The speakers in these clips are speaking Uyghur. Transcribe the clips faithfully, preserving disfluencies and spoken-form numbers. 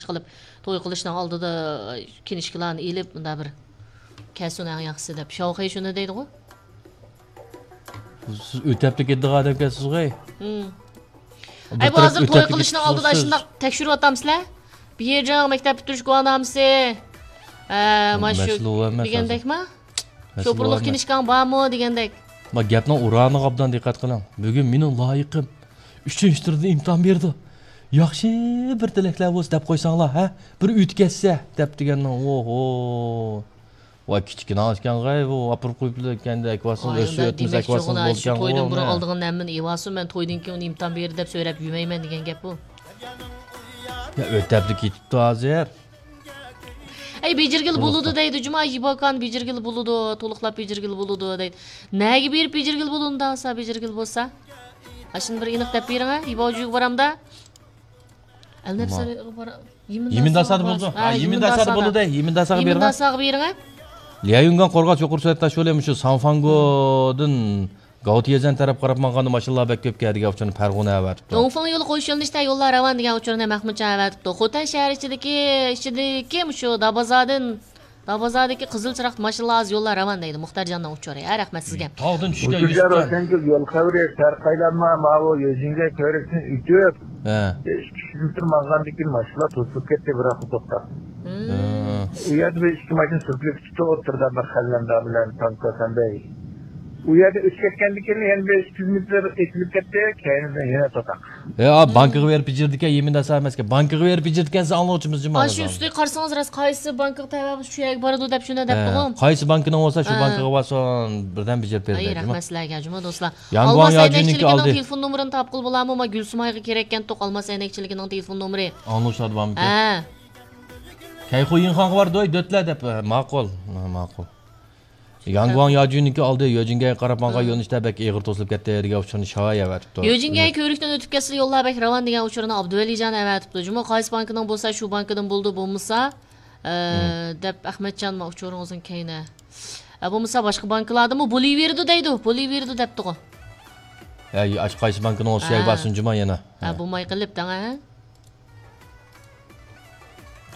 قىلىپ، توي قىلىشنىڭ ئالدىدا كىنىشكىلارنى ئېلىپ، مۇنداق بىر كەلسۇن ئەڭ ياخشىسى دەپ. شاۋخەي شۇنى دەيدىغۇ. سىز ئۆتەپتە كېتىدىغان ئادەمكەنسىز غەي. ھىم. بىر ئەي، بۇ تەرەپ ھازىر توي ئۆتەپتە قىلىشنىڭ كېتىپ ئالدىدا قالسىز. شۇنداق تەكشۈرۈۋاتامسىلەر؟ بېيجىڭ مەكتەپ پۈتتۈرۈش گۇۋاھنامىسى، ئە، مانا شۇ مەسىلە بولۇۋەرمەس ھازىر. دېگەندەكما؟ مەسىلە شوپۇرلۇق بولۇۋەرمەس. كىنىشكاڭ بارمۇ دېگەندەك. ما گەپنىڭ ئۇرانىغا ئوبدان دىققەت قىلىڭ. بۈگۈن مېنىڭ لايىقىم ئۈچىنچى تۈردىن ئىمتىھان بېرىدۇ. ياخشى بىر تىلەكلەر بولسا دەپ قويساڭلار، ھە؟ بىر ئۆتۈپ كەتسە دەپ دېگەننىڭ، ئوھو. ۋاي، كىچىككىنە ئىكەن غاي، بۇ ئاپىرىپ قويۇپلا ئىكەن، ئەكۋاتسىڭىز، ۋاي، ئۆسۈپ ئۇنداق ئۆتمىسە دېمەكچى ئەكۋاتسىڭىز بولىدىغان بولىدىكەنغۇ، تويدىن بۇرۇن ھە. ئالىدىغان ھەممىنى ئېۋالسۇن، مەن تويدىن كېيىن ئۇنى ئىمتىھان بېرىدۇ دەپ سۆرەپ يۈرمەيمەن دېگەن گەپ بۇ. يا، ئۆتەپلا كېتىپتۇ ھازىر. ئەي، بېجىرگىلى بولىدۇ دەيدۇ جۇما، ئىباكان بېجىرگىلى بولىدۇ، تولۇقلاپ بېجىرگىلى بولىدۇ دەيدۇ. نەگە بېرىپ بېجىرگىلى بولىدۇ ئۇنداق بولسا، بېجىرگىلى بولسا؟ ئاشۇنى بىر ئېنىق دەپ بېرىڭە، ئىباجۇگە بارامدا. ئەلنەپسەرگە بارا-، يىمىنداسادا بولىدۇ. ھە، يىمىنداسادا بولىدۇ دە، يىمىنداساغا بېرىڭە. يىمىنداساغا بېرىڭە. ليايۈنگان قورغاس يۇقىرى سۈرئەت تاشيولى مۇشۇ سانفاڭگودىن گاۋتيېزەن تەرەپ قاراپ ماڭغاندا ماشىنىلار بەك كۆپ دېگەن ئۇچۇرنى پەرغۇنە ئەۋەتىپتۇ. دۇڭفېڭ يولى قويۇش يۆنىلىشىدە يوللار راۋان دېگەن ئۇچۇرنى مەخمۇتجان ئەۋەتىپتۇ. خوتەن شەھەر ئىچىدىكى، ئىچىدىكى مۇشۇ دابازادىن، دابازادىكى قىزىل چىراغ ماشىنىلار ھازىر يوللار راۋان دەيدۇ. مۇختەرجاننىڭ ئۇچۇرى. ھە، رەھمەت سىزگە. تاغدىن چۈشكەن يۈسۈپجان يۈسۈپجان. روشەنگۈل يول خەۋىرى، سەرقايلانما، ماۋۇ يۆجىنگەي كۆۋرۈكتىن ئۆتۈپ، ھە. ئىككى كىلومېتىر ماڭغاندىن كېيىن ماشىنىلار توسۇلۇپ كەتتى، بىراق توختاپ. ھە. ئۇ يەردە بىر ئىككى ماشىنا سۈركىلىپ كېتىپتۇ، ئوتتۇرىدا بىر خەنلەندە بىلەن تانكا سەندەي. ئۇ يەردە ئۆتۈپ كەتكەندىن كېيىن يەنە بىر ئىككى يۈز مېتىر ئېتىلىپ كەتتى، كەينىدىن يەنە توتاق. ھە، بانكىغا بېرىپ بېجىرىدىكەن، يېمىن دەسە ئەمەسكەن. بانكىغا بېرىپ بېجىرىدىكەنسە ئاڭلىغۇچىمىز جىما. ئاشۇ ئۈستىگە قارىسىڭىز راست، قايسى بانكىغا تەۋە بولسا شۇ يەرگە بارىدۇ دەپ شۇنداق دەپتىغۇ. ھە، قايسى بانكىنىڭ بولسا شۇ ھە. بانكىغا بارسۇن، بىردەم بېجىرىپ بېرىدۇ. ئاي، رەھمەت سىلەرگە جۇما دوستلار. ياڭگۇاڭ ئالماس ياجۈننىڭكى ئەينەكچىلىكىنىڭ ئالدى. تېلېفون نومۇرىنى تاپقىلى بولامۇ؟ ما گۈلسۇمايغا كېرەككەنتۇق ئالماس ئەينەكچىلىكىنىڭ تېلېفون نومۇرى. ئاڭلىغۇچىلاردا بارمىكىن؟ ھە. كەيخۇ يىڭخاڭغا بارىدۇ، دۆتلە دەپ. ھە، ماقۇل. ھە، ماقۇل. ياڭگۇاڭ ياجۈننىڭكى ئالدى يۆجىنگەي قاراپ ماڭغان ھە. يۆنىلىشتە بەك ئېغىر توسۇلۇپ كەتتى دېگەن ئۇچۇرنى شاۋاي ئەۋەتىپتۇ. يۆجىنگەي كۆۋرۈكتىن ئۆتۈپ كەتسىلا يوللار بەك راۋان دېگەن ئۇچۇرنى ئابدۇۋەلىجان ئەۋەتىپتۇ. جۇمۇ قايسى بانكىنىڭ بولسا شۇ بانكىدىن بولىدۇ، بولمىسا، ئە، ھە. دەپ ئەخمەتجان ما ئۇچۇرىڭىزنىڭ كەينى. ئە، بولمىسا باشقا بانكىلاردىمۇ بولۇۋېرىدۇ دەيدۇ، بولۇۋېرىدۇ دەپتىغۇ. ھە، ئاشۇ قايسى بانكىنىڭ بولسا شۇ يەرگە ھە. بارسۇن جۇما يەنە. ھە، ھە. بولماي قېلىپ دەڭە، ھە.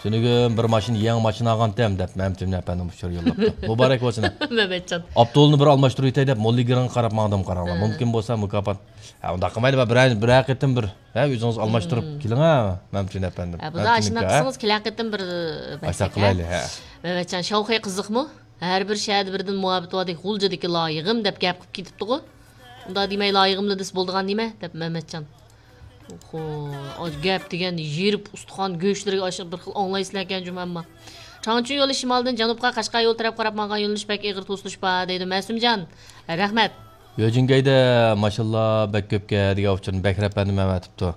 تۈنۈگۈن بىر ماشىنا، يېڭى ماشىنا ئالغانتىم دەپ مەمتىمىن ئەپەندىم ئۇچۇر يوللاپتۇ. مۇبارەك بولسۇن. مەمەتجان. ئاپتولنى بىر ئالماشتۇرۇۋېتەي دەپ موللىگىرغا قاراپ ماڭدىم، قاراڭلار. ھە. مۇمكىن بولسا مۇكاپات. ھە، ئۇنداق قىلمايلى، بىر، بىرەر قېتىم بىر، ھە، ئۆزىڭىز ئالماشتۇرۇپ ھىم. كېلىڭ، ھە، مەمتىن ئەپەندىم. ھە، بۇدا مەمتىن ئاشۇنداق ئاكا، ھە. قىلسىڭىز كېلەر قېتىم بىر، ئاشۇنداق بەرسەك، ھە. قىلايلى، ھە. مەمەتجان، شاۋخەي قىزىقمۇ؟ ھەر بىر شەھەردە بىردىن مۇھەببىتى باردەك غۇلجىدىكى لايىغىم دەپ گەپ قىلىپ كېتىپتىغۇ. ئۇنداق دېمەي، لايىغىملا دېسە بولىدىغان نېمە؟ دەپ مەمەتجان. ئوخو، ئاز گەپ دېگەن يېرىپ ئۇستىخان گۆشلىرىگە ئاشۇ بىر خىل ئاڭلايسىلەركەن جۇمۇ ئەمما. چاڭچۈن يولى شىمالدىن جەنۇبقا قەشقەر يولى تەرەپ قاراپ ماڭغان يۆنىلىش بەك ئېغىر توسۇلۇش بار دەيدۇ مەسۇمجان. رەھمەت. يۆجىنگەيدە ماشىنىلار بەك كۆپكەن دېگەن ئۇچۇرنى بەكرى ئەپەندىم ئەۋەتىپتۇ.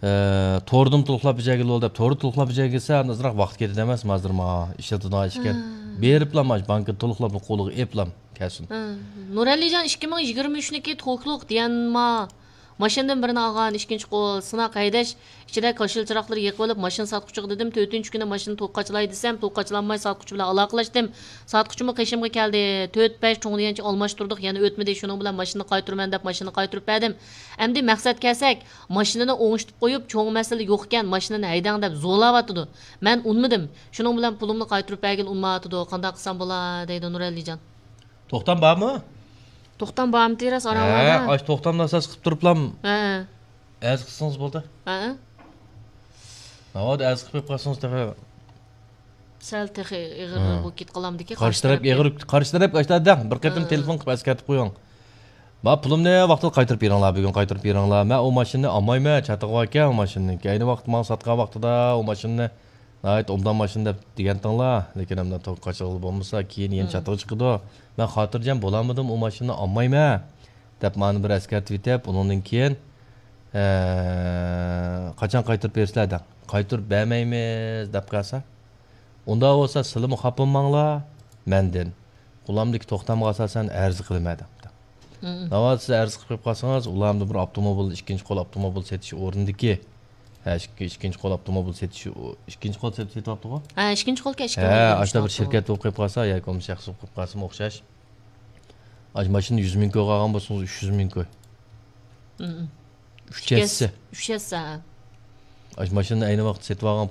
ئە، توردىمۇ تولۇقلاپ بېجەرگىلى بولدى دەپ، توردا تولۇقلاپ بېجەرگىلىسە ئازراق ۋاقىت كېتىدۇ ئەمەسمۇ ھازىر ماڭا ئىشلىتىدىغان ئىشكەن. ھە. بېرىپلا مانا بانكىدا تولۇقلاپلا قولىغا ئېلىپلا كەلسۇن. ھە. نۇرەلىجان ئىككى مىڭ يىگىرمە ئۈچنىڭكى توكلۇق دىيەنما ماشىنىدىن بىرنى ئالغان، ئىككىنچى قول سىناق ھەيدەش، ئىچىدە كاشىلا چىراغلىرى يېقىۋېلىپ، ماشىنا ساتقۇچىغا دېدىم، تۆتىنچى كۈنى ماشىنا توك قاچىلاي دېسەم، توك قاچىلانماي ساتقۇچى بىلەن ئالاقىلەشتىم. ساتقۇچىمۇ قېشىمغا كەلدى. تۆت بەش چوڭ دىيەنچە ئالماشتۇردۇق، يەنە ئۆتمىدى. شۇنىڭ بىلەن ماشىنىنى قايتۇرىمەن دەپ ماشىنىنى قايتۇرۇپ بەردىم. ئەمدى مەقسەت كەلسەك، ماشىنىنى ئوڭشىتىپ قويۇپ، چوڭ مەسىلە يوق ئىكەن، ماشىنىنى ھەيدەڭ دەپ زورلاۋاتىدۇ. مەن ئۇنىمىدىم. شۇنىڭ بىلەن پۇلۇمنى قايتۇرۇپ بەرگىلى ئۇنىمايۋاتىدۇ. قانداق قىلسام بولاي دەيدۇ نۇرەلىجان. توختام بارمۇ؟ توختام بارمىتى راست ھە، ئاراڭلاردا؟ ئاشۇ توختامنى ئاساس قىلىپ تۇرۇپلام ھە. ئەرز قىلسىڭىز بولدى. ھە. ناۋادا ئەرز قىلىپ قويۇپ قالسىڭىز تېخى. سەل تېخى ئېغىر ھە. بولۇپ كېتىپ قالامدىكى قارشى قارشى تەرەپكە. تەرەپ ئېغىر، قارشى تەرەپكە ئاشۇنداق دەڭ. بىر قېتىم ھە. تېلېفون قىلىپ ئەسكەرتىپ قويۇڭ. ما پۇلۇمنى ۋاقتىدا قايتۇرۇپ بېرىڭلار، بۈگۈن قايتۇرۇپ بېرىڭلار. مەن ئۇ ماشىنىنى ئالمايمەن، چاتىقى باركەن ئۇ ماشىنىنىڭكى. ئەينى ۋاقىت ماڭا ساتقان ۋاقتىدا ئۇ ماشىنىنى ناھايىتى ئوبدان ماشىنا دەپ دېگەنتىڭلار، لېكىن ئەمدى توك قاچىلىغىلى بولمىسا، كېيىن يەنە ھە. چاتىقى چىقىدۇ. مەن خاتىرجەم بولالمىدىم، ئۇ ماشىنىنى ئالمايمەن دەپ مانا بىر ئەسكەرتىۋېتىپ، ئۇنىڭدىن كېيىن، ئە، قاچان قايتۇرۇپ بېرىسىلەر دەڭ. قايتۇرۇپ بەرمەيمىز دەپ قالسا، ئۇنداق بولسا سىلىمۇ خاپا بولماڭلار مەندىن. قولۇمدىكى توختامغا ئاساسەن ئەرز قىلىمەن دەپتۇ. مم. ناۋادا سىز ئەرز قىلىپ قويۇپ قالسىڭىز، ئۇلارمۇ بىر ئاپتوموبىل، ئىككىنچى قول ئاپتوموبىل سېتىش ئورنىدىكى، ھە، ئىككى-، ئىككىنچى قول ئاپتوموبىل سېتىش، ئىككىنچى قول سېتىۋاتىدىغۇ؟ ھە، ئىككىنچى قولكەن، ئىككىنچى ھە، قول ئاشۇنداق بىر ئاپتوموبىل. شىركەت بولۇپ قېلىپ قالسا ياكى بولمىسا شەخسىي بولۇپ قېلىپ قالسىمۇ ئوخشاش. ئاشۇ ماشىنىنى يۈز مىڭ كويغا ئالغان بولسىڭىز، ئۈچ يۈز مىڭ كوي. مم. ئۈچ يەسسە. ئۈچ يەسسە. ئاشۇ ماشىنىنى ئەينى ۋاقىتتا سېتىۋالغان